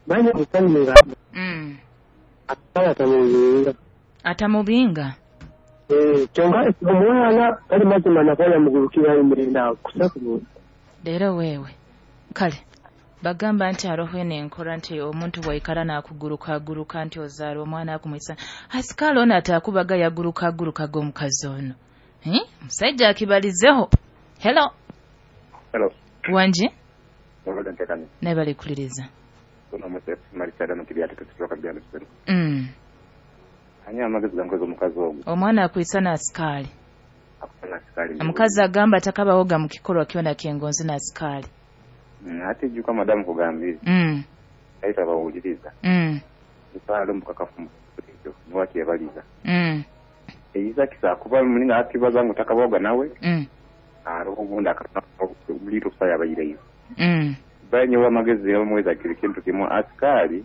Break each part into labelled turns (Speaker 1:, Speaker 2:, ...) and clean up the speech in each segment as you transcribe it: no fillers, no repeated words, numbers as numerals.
Speaker 1: Banye kusanira. Atamubinga.
Speaker 2: Atamubinga.
Speaker 1: Kyonka omwana kali mazima nakola mugurukira imirinda kusaku.
Speaker 2: Leero wewe. Kale bagamba nti haroho enkora nti omuntu bwaikara nakuguruka aguruka nti ozaara omwana akumwisa. Asikali ono atakubaga yaguruka aguruka g'omukazi ono. Musajja akibalizeho. Hello.
Speaker 3: Hello.
Speaker 2: Wanje? Naye bali kuliriza. Omwana akwisa na asikali. Omukazi agamba atakabawoga mu kikolwa kyona kyengonzi na asikali.
Speaker 3: Ate juka madamu kugambira. Aita bawuliriza. Mpalo mukakafu ekyo niwakyebaliza. Eyiza kisa kuba mulinga akibaza ngu takabawoga nawe. Aroho obundi akabuliro kusaya abayireyo. Banyewe amagezi yamweza kiri kintu kimu asikali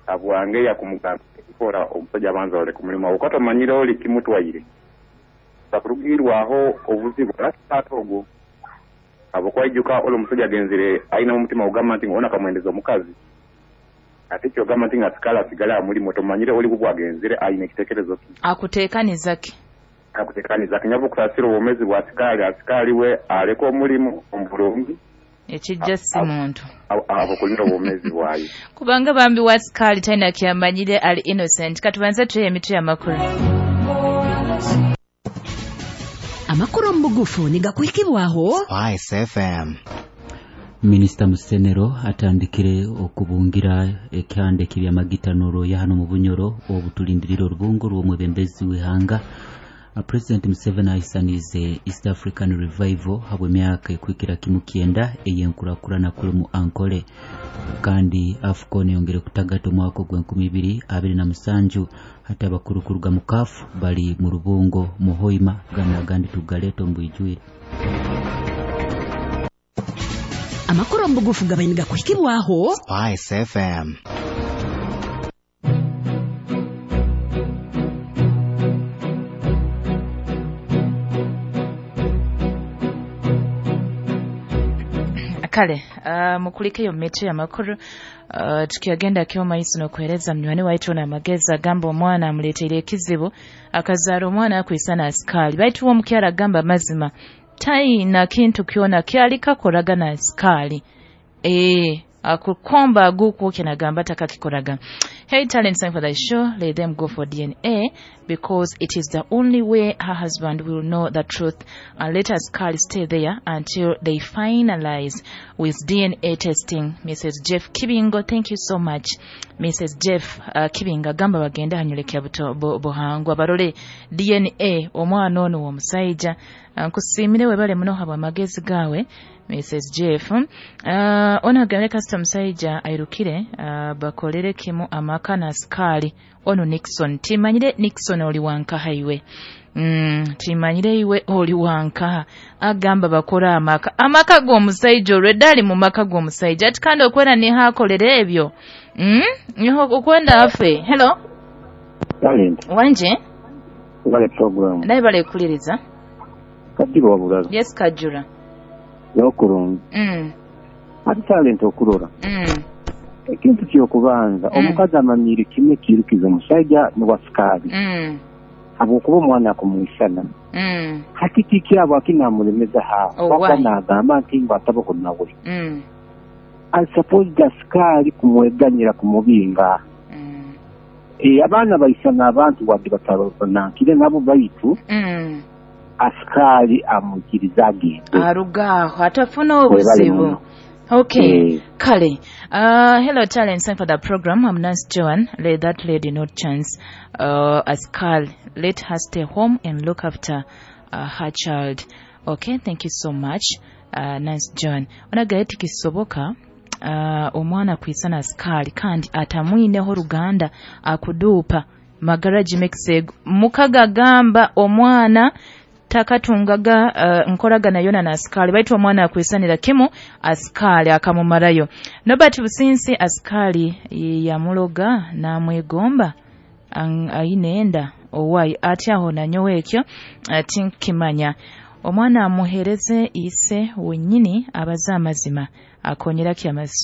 Speaker 3: abwange yakumugamba kora omusajja abanza ole kumulima okata manyire oli kimutwaire. Takurugirwaho obuzibu atogo. Abo kwaijuka ole omusajja agenzire aina omutima ogamba nti ona kamwendeza omukazi. Ate kyo ogamba nti asikali asigala amulimo tomanyire oli kubwagenzire aina ekitekerezo ki.
Speaker 2: Akuteekaniza ki?
Speaker 3: Akuteekaniza ki nyabu kusasira obwomezi bwa asikali asikali we aleko omulimu omulungi.
Speaker 2: Ekijja si muntu.
Speaker 3: Abo kulinda obwomezi bwayo.
Speaker 2: Kubanga bambi wa asikali talina kyamanyire ali innocent. Katubanze tuye emitwe y'amakulu.
Speaker 4: Amakuru mu bugufu nigakuhikibwaho
Speaker 5: Spice FM.
Speaker 6: Minisita Musenero atandikire okubungira ekyande kibyamagita n'olwoya hano mu Bunyoro obutulindirira olubungo lw'omwebembezi w'ihanga. President Museveni ahisanize East African Revival habwe myaka ekwikira kimu kyenda ey'enkurakurana kuli mu Ankole. Kandi AFCON yongere kutagata omwaka ogwa 2027 hati abakuru kuruga mu CAF bali mu rubungo mu Hoima gana agandi tugaleeta omu bwijwire.
Speaker 4: Amakuru mu bugufu gabaye nigakuhikibwaho
Speaker 5: Spice FM.
Speaker 2: Kale mukulikeyo mitwe y'amakuru tukyagenda kyomaiso n'okuheereza munywani waitu n'amagezi agamba omwana amuleeteire ekizibu akazaara omwana akwisana asikali baitu uwo omukyara agamba amazima taina kintu kyona kyali kakoraga na asikali akukomba aguku nagamba takakikoraga. Hey talent, thank for the show. Let them go for DNA because it is the only way her husband will know the truth, and let us Carl stay there until they finalize with DNA testing. Mrs. Jeff Kibingo, thank you so much. Mrs. Jeff Kibingo agamba bagenda hanyulekya buhangwa barole DNA omwana ono w'omusajja. Nkusiimire webale muno habwa amagezi gawe Mrs. Jeff. Ono agambe kasita omusajja airukire bakolere kimu amaka na asikali ono Nixon. Timanyire Nixon oli wankaha iwe. Timanyire iwe oli wankaha. Agamba bakora amaka. Amaka g'omusajja olwedde ali mu maka g'omusajja. Ati kandi okwenda niho akolera ebyo. Niho okwenda afe. Hello.
Speaker 7: Talent.
Speaker 2: Wanje?
Speaker 7: Bale program.
Speaker 2: Naye bale kuliriza.
Speaker 7: Kajura wabulala.
Speaker 2: Yes Kajura.
Speaker 7: Yokurungi. Ati talent okurora. Ekintu kyokubanza omukazi amanyire kimwe kirukiza omusajja n'owasikali. Habwokuba omwana akumwisana. Hati kiki abo akinamulemeza ha. Waka nagamba nti ngu ataboko nawe. I suppose asikali kumweganyira kumubinga. Abaana baisana abantu wadde batabanankire nabo baitu. Asikali amukiriza agende.
Speaker 2: Arugaho atafuna obuzibu. Okay. Kale. Hello talent, thank for the program. I'm Nancy Joan. Let that lady not chance. Askal, let her stay home and look after her child. Okay, thank you so much. Nancy Joan. Onagaye tikisoboka omwana kwisana askali kandi atamwineho ruganda akudupa magaraji mexeg mukaga gamba omwana takatungaga nkoraga yona na askali baitu omwana akwisanira kimu askali akamumarayo. Nobert Businsi askali yamuloga namwegomba ayinenda owai ati aho nanyowe ekyo tinkimanya omwana amuhereze ise wenyini abaza amazima akonyera kyamasu.